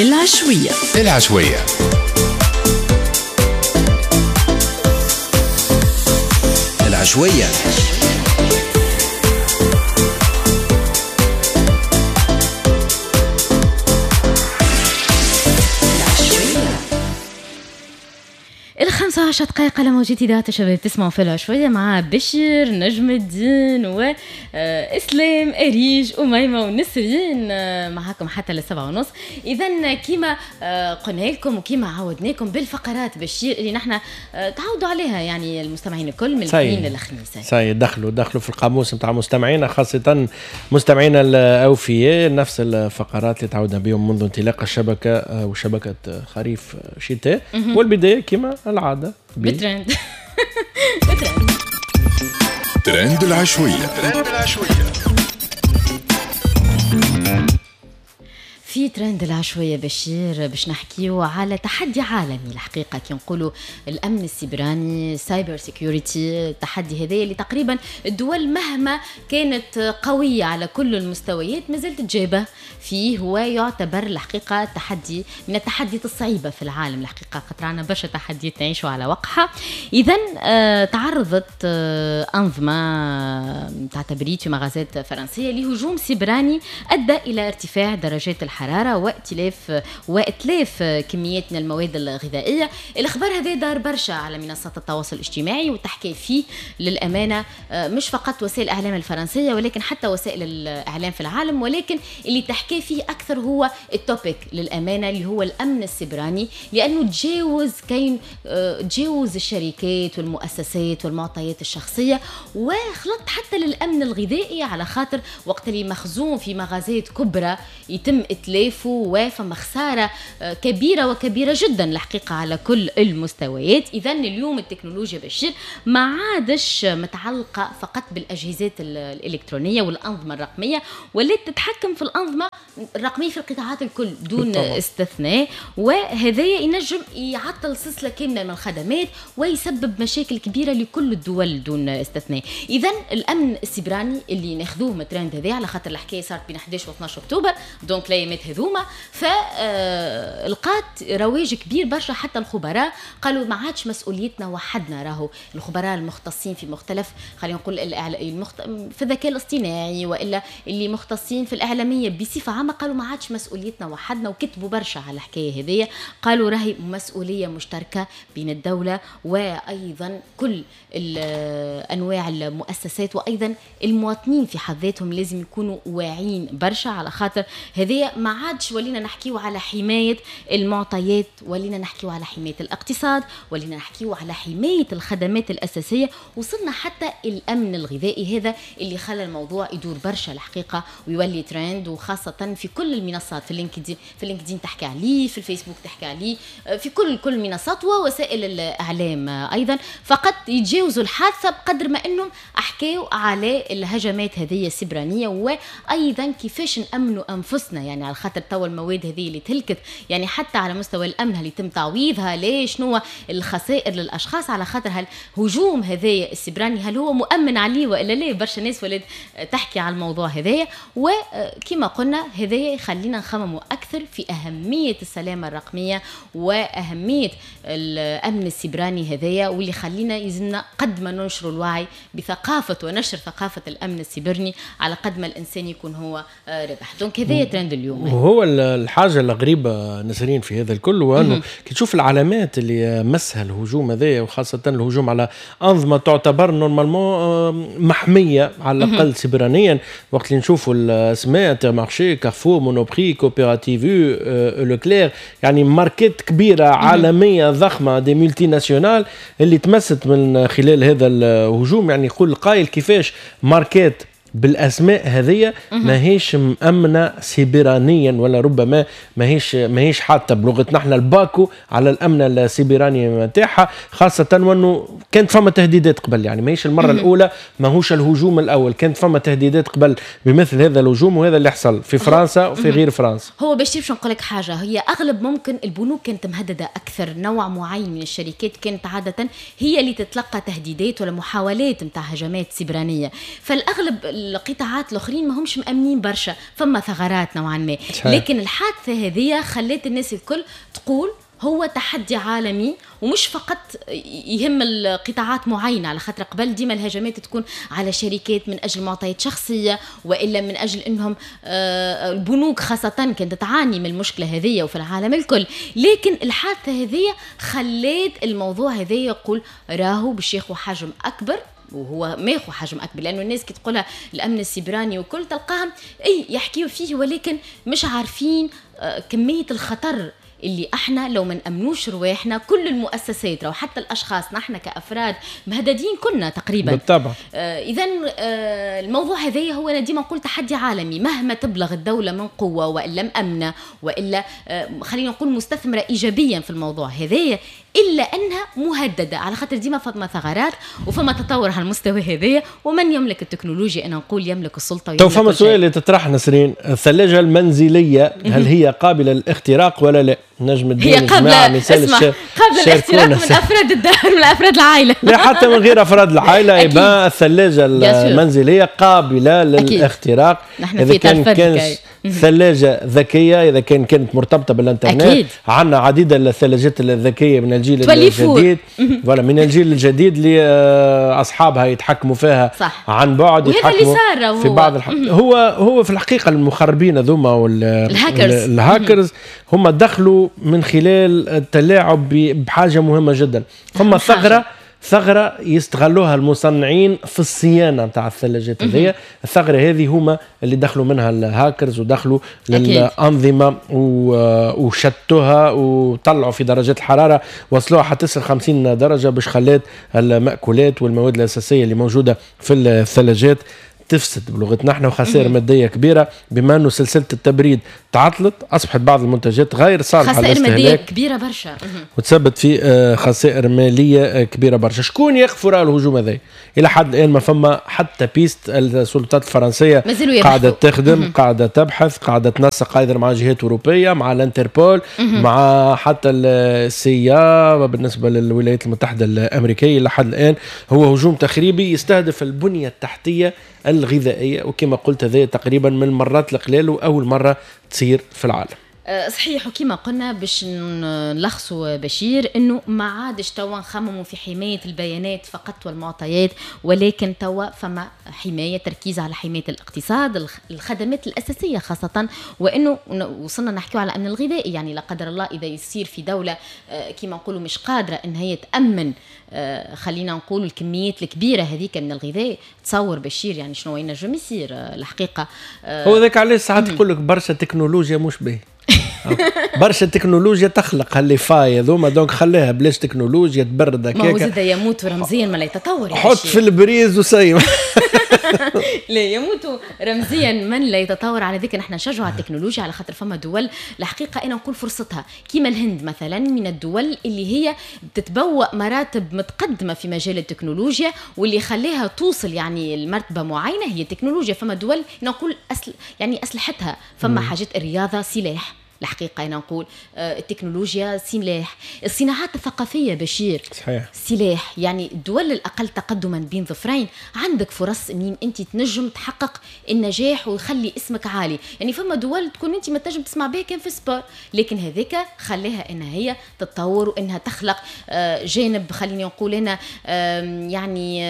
العشوية. العشوية. العشوية. 15 دقائق على موجة إذاعة الشباب، تسمعوا في العشوية مع بشير نجم الدين وإسلام أريج أميمة ونسرين معاكم حتى 7:30. إذا كما قلنا لكم وكما عودناكم بالفقرات بشير اللي نحن تعودوا عليها يعني المستمعين الكل من الاثنين للخميس. سي دخلوا في القاموس نتاع مستمعينا، خاصة مستمعينا الأوفياء، نفس الفقرات اللي تعودنا بهم منذ انطلاق الشبكة وشبكة خريف شتاء. والبداية كما العادة بترند. ترند العشوية. ترند العشوية. في ترند العشوية بشير باش نحكيو على تحدي عالمي الحقيقة، كي نقولوا الأمن السيبراني، cyber security، التحدي هذا اللي تقريبا الدول مهما كانت قوية على كل المستويات مازالت تجابه فيه، هو يعتبر الحقيقة تحدي من التحديات الصعيبة في العالم الحقيقة، خاطر عندنا برشا تحديات نعيشوا على وقعها. إذا تعرضت أنظمة تاع تبريد في مغازات فرنسية لهجوم سيبراني أدى إلى ارتفاع درجات الحرارة واتلاف كميات من المواد الغذائية. الأخبار هذا دار برشا على منصات التواصل الاجتماعي وتحكي فيه للأمانة مش فقط وسائل الإعلام الفرنسية ولكن حتى وسائل الإعلام في العالم، ولكن اللي تحكي فيه أكثر هو ال topic للأمانة اللي هو الأمن السيبراني، لأنه تجاوز تجاوز الشركات والمؤسسات والمعطيات الشخصية وخلط حتى للأمن الغذائي، على خاطر وقت اللي مخزون في مغازات كبرى يتم اتلافه وفما خسارة كبيرة وكبيره جدا الحقيقة على كل المستويات. اذا اليوم التكنولوجيا بشير ما عادش متعلقه فقط بالاجهزات الالكترونية والانظمة الرقمية، ولات تتحكم في الانظمة الرقمية في القطاعات الكل دون بالطبع استثناء، وهذا ينجم يعطل سلسلة كاملة من الخدمات ويسبب مشاكل كبيرة لكل الدول دون استثناء. اذا الامن السيبراني اللي ناخذوه من الترند هذا، على خاطر الحكاية صارت بين 11 و 12 اكتوبر، donc الايامات هذوما، فلقات رواج كبير برشا، حتى الخبراء قالوا ما عادش مسؤوليتنا وحدنا، راهو الخبراء المختصين في مختلف خلينا نقول في الذكاء الاصطناعي والا اللي مختصين في الاعلامية بصفة عامة قالوا ما عادش مسؤوليتنا وحدنا، وكتبوا برشا على الحكاية هذيا، قالوا راهي مسؤولية مشتركة بين الدولة وايضا كل انواع المؤسسات، وايضا المواطنين في حد ذاتهم لازم يكونوا واعيين برشا، على خاطر هذه ما عادش ولينا نحكيو على حماية المعطيات، ولينا نحكيو على حماية الاقتصاد، ولينا نحكيو على حماية الخدمات الأساسية، وصلنا حتى الأمن الغذائي. هذا اللي خلى الموضوع يدور برشا الحقيقة ويولي ترند، وخاصة في كل المنصات، في LinkedIn، في LinkedIn تحكي عليه، في الفيسبوك تحكي عليه، في كل المنصات ووسائل الإعلام أيضا. فقط يتجاوزوا الحادثة بقدر ما أنهم أحكيوا على الهجمات هذه السبرانية، وأيضا كيفاش نأمنوا أنفسنا، يعني على خاطر توا المواد هذه اللي تهلكت، يعني حتى على مستوى الامن هل يتم تعويضها، ليش، شنو الخسائر للاشخاص على خاطر هالهجوم هذايا السبراني، هل هو مؤمن عليه والا لا؟ برشا ناس ولات تحكي على الموضوع هذايا، وكما قلنا هذايا يخلينا نخمموا اكثر في اهمية السلامة الرقمية واهمية الامن السبراني هذايا، واللي خلينا يلزمنا قد ما ننشروا الوعي بثقافة ونشر ثقافة الامن السبرني على قد ما الانسان يكون هو ربح. donc هذايا ترند اليوم. وهو الحاجة الغريبة نسرين في هذا الكل هو أنه كي تشوف العلامات اللي مسها الهجوم هذا، وخاصة الهجوم على أنظمة تعتبر normalement محمية على الأقل سيبرانيا، وقت اللي نشوفوا الأسماء Intermarché، Carrefour، Monoprix، Coopérative، Leclerc، يعني ماركات كبيرة عالمية ضخمة des multinationales اللي تمست من خلال هذا الهجوم. يعني يقول القائل كيفاش ماركات بالاسماء هذه ماهيش مأمنه سيبرانيا، ولا ربما ماهيش حاطه بلغتنا احنا الباكو على الامن السيبراني نتاعها، خاصة وانه كانت فما تهديدات قبل، يعني ماهيش المرة الاولى، ماهوش الهجوم الاول، كانت فما تهديدات قبل بمثل هذا الهجوم، وهذا اللي حصل في فرنسا وفي غير فرنسا. هو باش نقول لك حاجة، هي اغلب ممكن البنوك كانت مهددة اكثر، نوع معين من الشركات كانت عادة هي اللي تتلقى تهديدات ولا محاولات نتاع هجمات سبرانيه، فالاغلب القطاعات الاخرين ما همش مامنين برشا، فما ثغرات نوعا ما. لكن الحادثة هذه خلت الناس الكل تقول هو تحدي عالمي، ومش فقط يهم القطاعات معينة، على خاطر قبل ديما الهجمات تكون على شركات من أجل معطيات شخصية، وإلا من أجل أنهم البنوك خاصة كانت تعاني من المشكلة هذه وفي العالم الكل. لكن الحادثة هذه خلت الموضوع هذا يقول راهو باش ياخذ حجم أكبر، وهو ماخو حجم اكبر، لانه الناس كي تقولها الامن السيبراني وكل تلقاهم اي يحكيوا فيه، ولكن مش عارفين كمية الخطر اللي احنا لو ما نامنوش رواحنا، كل المؤسسات او حتى الاشخاص، نحن كافراد مهددين كنا تقريبا. بالطبع. اذا الموضوع هذا هو انا ديما نقول تحدي عالمي، مهما تبلغ الدولة من قوة والا مامنه والا خلينا نقول مستثمره ايجابيا في الموضوع هذايا، الا انها مهددة، على خاطر ديما فما ثغرات وفما تطور على المستوى هذايا، ومن يملك التكنولوجيا انا نقول يملك السلطة. تو فما سؤال اللي تطرح نسرين، الثلاجة المنزلية هل هي قابله للاختراق ولا لا؟ نجم الدين هي قابله، اسمع، قابله للاختراق من افراد الدار، من افراد العائلة. لا حتى من غير افراد العائلة، يبقى الثلاجة المنزلية قابله للاختراق. اذا كان ثلاجه ذكية، اذا كانت مرتبطة بالانترنت، عندنا عديد الثلاجات الذكية من الجيل الجديد، ولا من الجيل الجديد اللي اصحابها يتحكموا فيها. صح. عن بعد، يتحكموا في بعض هو في الحقيقة المخربين هذوما والهاكرز هم دخلوا من خلال التلاعب بحاجة مهمة جدا. فما ثغرة يستغلوها المصنعين في الصيانة نتاع الثلاجات هذيا، الثغرة هذه هما اللي دخلوا منها الهاكرز ودخلوا للأنظمة وشتوها وطلعوا في درجات الحرارة، وصلوها حتى 50 درجة، باش خلات المأكولات والمواد الأساسية اللي موجودة في الثلاجات تفسد بلغتنا احنا، وخسائر مادية كبيرة، بما انه سلسلة التبريد تعطلت، اصبحت بعض المنتجات غير صالحه خسائر مادية كبيرة برشا، وتسبب في خسائر ماليه كبيرة برشا. شكون يقف وراء الهجوم هذا؟ الى حد الان ما فما حتى piste. السلطات الفرنسية قاعدة تخدم، قاعدة تبحث، قاعدة تنسق ايضا مع جهات اوروبية، مع الانتربول، مع حتى ال CIA بالنسبة للولايات المتحدة الامريكية. الى حد الان هو هجوم تخريبي يستهدف البنية التحتية الغذائية، وكما قلت هذا تقريبا من المرات القلال وأول مرة تصير في العالم. صحيح، وكما قلنا باش نلخصوا بشير، انه ما عادش توا نخمموا في حماية البيانات فقط والمعطيات، ولكن توا فما حماية، تركيز على حماية الاقتصاد، الخدمات الاساسية خاصة، وانه وصلنا نحكيو على الامن الغذائي، يعني لا قدر الله اذا يصير في دولة كما نقولوا مش قادرة ان هي تامن خلينا نقول الكميات الكبيرة هذيك من الغذاء، تصور بشير يعني شنو ينجم يصير الحقيقة. هو ذاك علاش ساعات يقول لك برشا تكنولوجيا مش باهي، برشا تكنولوجيا تخلق هال les failles هذوما، donc خليها بلاش تكنولوجيا تبرد هكاك. ما هو زاد يموت رمزيا ما لا يتطور، حط في البريز وسيم. لا يموت رمزيا من لا يتطور. على ذلك نحن نشجعوا على التكنولوجيا، على خاطر فما دول الحقيقة انا نقول فرصتها، كيما الهند مثلا، من الدول اللي هي بتتبوأ مراتب متقدمة في مجال التكنولوجيا، واللي خليها توصل يعني المرتبة معينة هي التكنولوجيا. فما دول نقول يعني اسلحتها، فما حاجات الرياضة سلاح الحقيقة أنا نقول التكنولوجيا سلاح، الصناعات الثقافية بشير صحيح سلاح. يعني الدول الأقل تقدما بين ظفرين عندك فرص منين أنت تنجم تحقق النجاح ويخلي اسمك عالي. يعني فما دول تكون أنت ما تنجم تسمع بها كان في sport، لكن هذيك خليها أنها هي تتطور وأنها تخلق جانب خليني نقول أنا يعني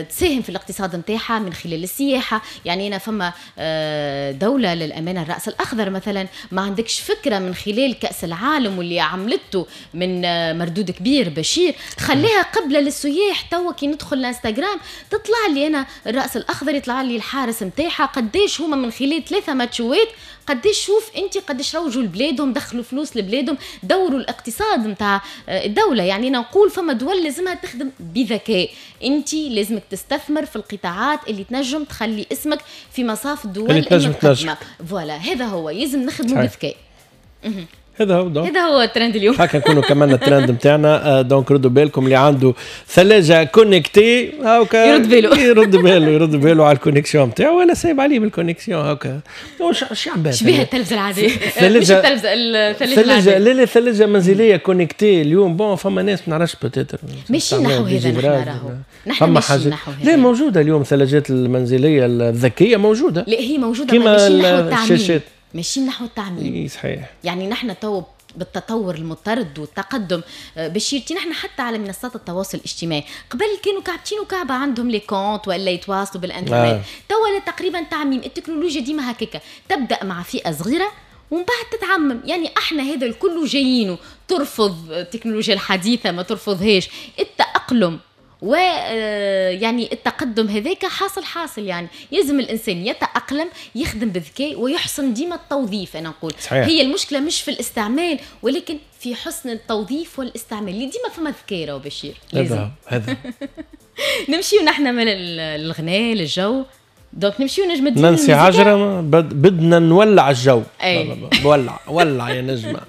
تساهم في الاقتصاد نتاعها من خلال السياحة. يعني أنا فما دولة للأمانة الرأس الأخضر مثلا ما عندكش فكرة من خلال كأس العالم واللي عملته من مردود كبير بشير خليها قبلة للسياح. توا كي ندخل الانستغرام تطلع لي أنا الرأس الأخضر، يطلع لي الحارس نتاعها قديش هما من خلال 3 ماتشوات قديش شوف انت قديش روجوا لبلادهم، دخلوا فلوس لبلادهم، دوروا الاقتصاد نتاع الدولة. يعني أنا نقول فما دول لازمها تخدم بذكاء، انت لازمك تستثمر في القطاعات اللي تنجم تخلي اسمك في مصاف الدول المتقدمة. voilà هذا هو، لازم نخدموا بذكاء. هذا هو donc هذا هو الترند اليوم. هكا نكونوا كملنا الترند نتاعنا. donc ردوا بالكم، اللي عنده ثلاجه connectée هاكا يرد باله. يرد باله، يرد باله على ال connexion نتاعو ولا سايب عليه بال connexion هاكا. اش عباد شبيه التلفزة العاديه؟ ثلاجة. مش التلفزه، الثلاجة ثلاجة. العاديه. لا لا، ثلاجة منزلية connectée اليوم، bon فما ناس ما نعرفش peut-être ماشي نحو هذا نحن راهو. نحن فما ماشيين حاجة نحو هذا. لا، موجودة اليوم الثلاجات المنزلية الذكية موجودة. لا، هي موجوده. كيما ماشيين نحو التعميم. الشاشات. ماشيين نحو التعميم. اي صحيح. يعني نحن تو بالتطور المضطرد والتقدم بشير، نحن حتى على منصات التواصل الاجتماعي، قبل كانوا كعبتين وكعبه عندهم les comptes ولا يتواصلوا بالانترنت. توا تقريبا تعميم التكنولوجيا، ديما هكاكا تبدا مع فئة صغيرة ومن بعد تتعمم. يعني احنا هذا الكل جايينه، ترفض التكنولوجيا الحديثه، ما ترفضهاش، التاقلم و يعني التقدم هذاك حاصل حاصل. يعني يلزم الانسان يتاقلم، يخدم بذكاء ويحسن ديما التوظيف. انا نقول هي المشكلة مش في الاستعمال ولكن في حسن التوظيف والاستعمال، اللي ديما فما ذكاء راهو بشير لازم. هذا هذا. نمشيو نحن من الغناء للجو، donc نمشيو نجم الدين نانسي الموسيقى. عجرم، بدنا نولع الجو. أي. ولع ولع يا نجمة.